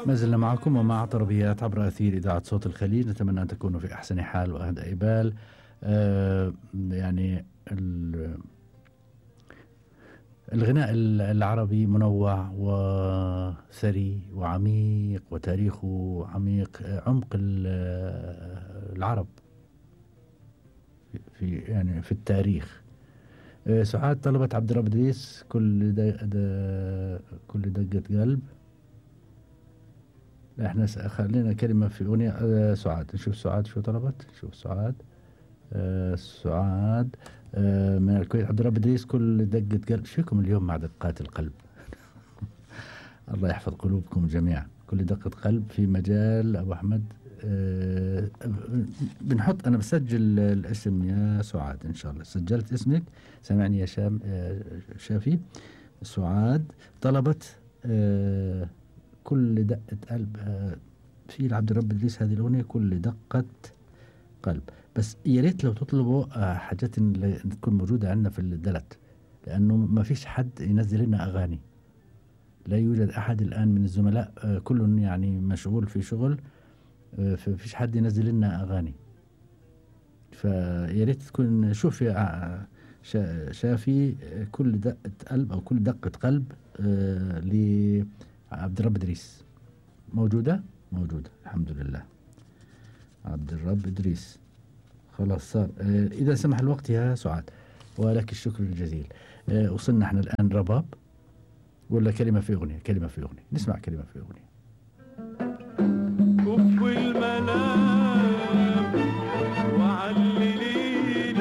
ما زلنا معكم ومع طربيات عبر أثير إذاعة صوت الخليج. نتمنى أن تكونوا في أحسن حال وأهدأ بال. يعني الغناء العربي منوع وثري وعميق وتاريخه عميق، عمق العرب في التاريخ. سعاد طلبت عبد الرب إدريس كل دقة قلب. احنا خلينا كلمة في أغنية. سعاد، نشوف سعاد شو طلبت. نشوف سعاد. سعاد من الكويت. عبد الرب إدريس كل دقة قلب. شوكم اليوم مع دقات القلب. الله يحفظ قلوبكم جميعا. كل دقة قلب في مجال أبو أحمد. بنحط، أنا بسجل الاسم يا سعاد إن شاء الله. سجلت اسمك، سمعني يا شافي. سعاد طلبت كل دقة قلب في عبد الرب إدريس هذه الأغنية كل دقة قلب. بس يا ريت لو تطلبوا حاجات تكون موجودة عندنا في الدلت، لأنه ما فيش حد ينزل لنا أغاني. لا يوجد أحد الآن من الزملاء، كل يعني مشغول في شغل، فيش حد ينزل لنا أغاني. فيا ريت تكون شوف يا شافي كل دقة قلب أو كل دقة قلب لعبد الرب إدريس. موجودة الحمد لله. عبد الرب إدريس خلاص صار. إذا سمح الوقت يا سعاد، ولك الشكر الجزيل. وصلنا احنا الآن رباب ولا كلمة في أغنية؟ كلمة في أغنية، نسمع كلمة في أغنية. كف الملام وعلليني،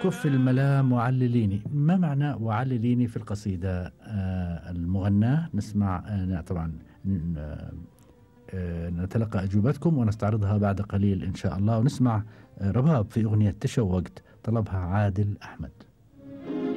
كف الملام وعلليني. ما معنى وعلليني في القصيدة المغناة؟ نسمع طبعا نتلقى أجوبتكم ونستعرضها بعد قليل إن شاء الله. ونسمع رباب في أغنية تشوقت، طلبها عادل أحمد.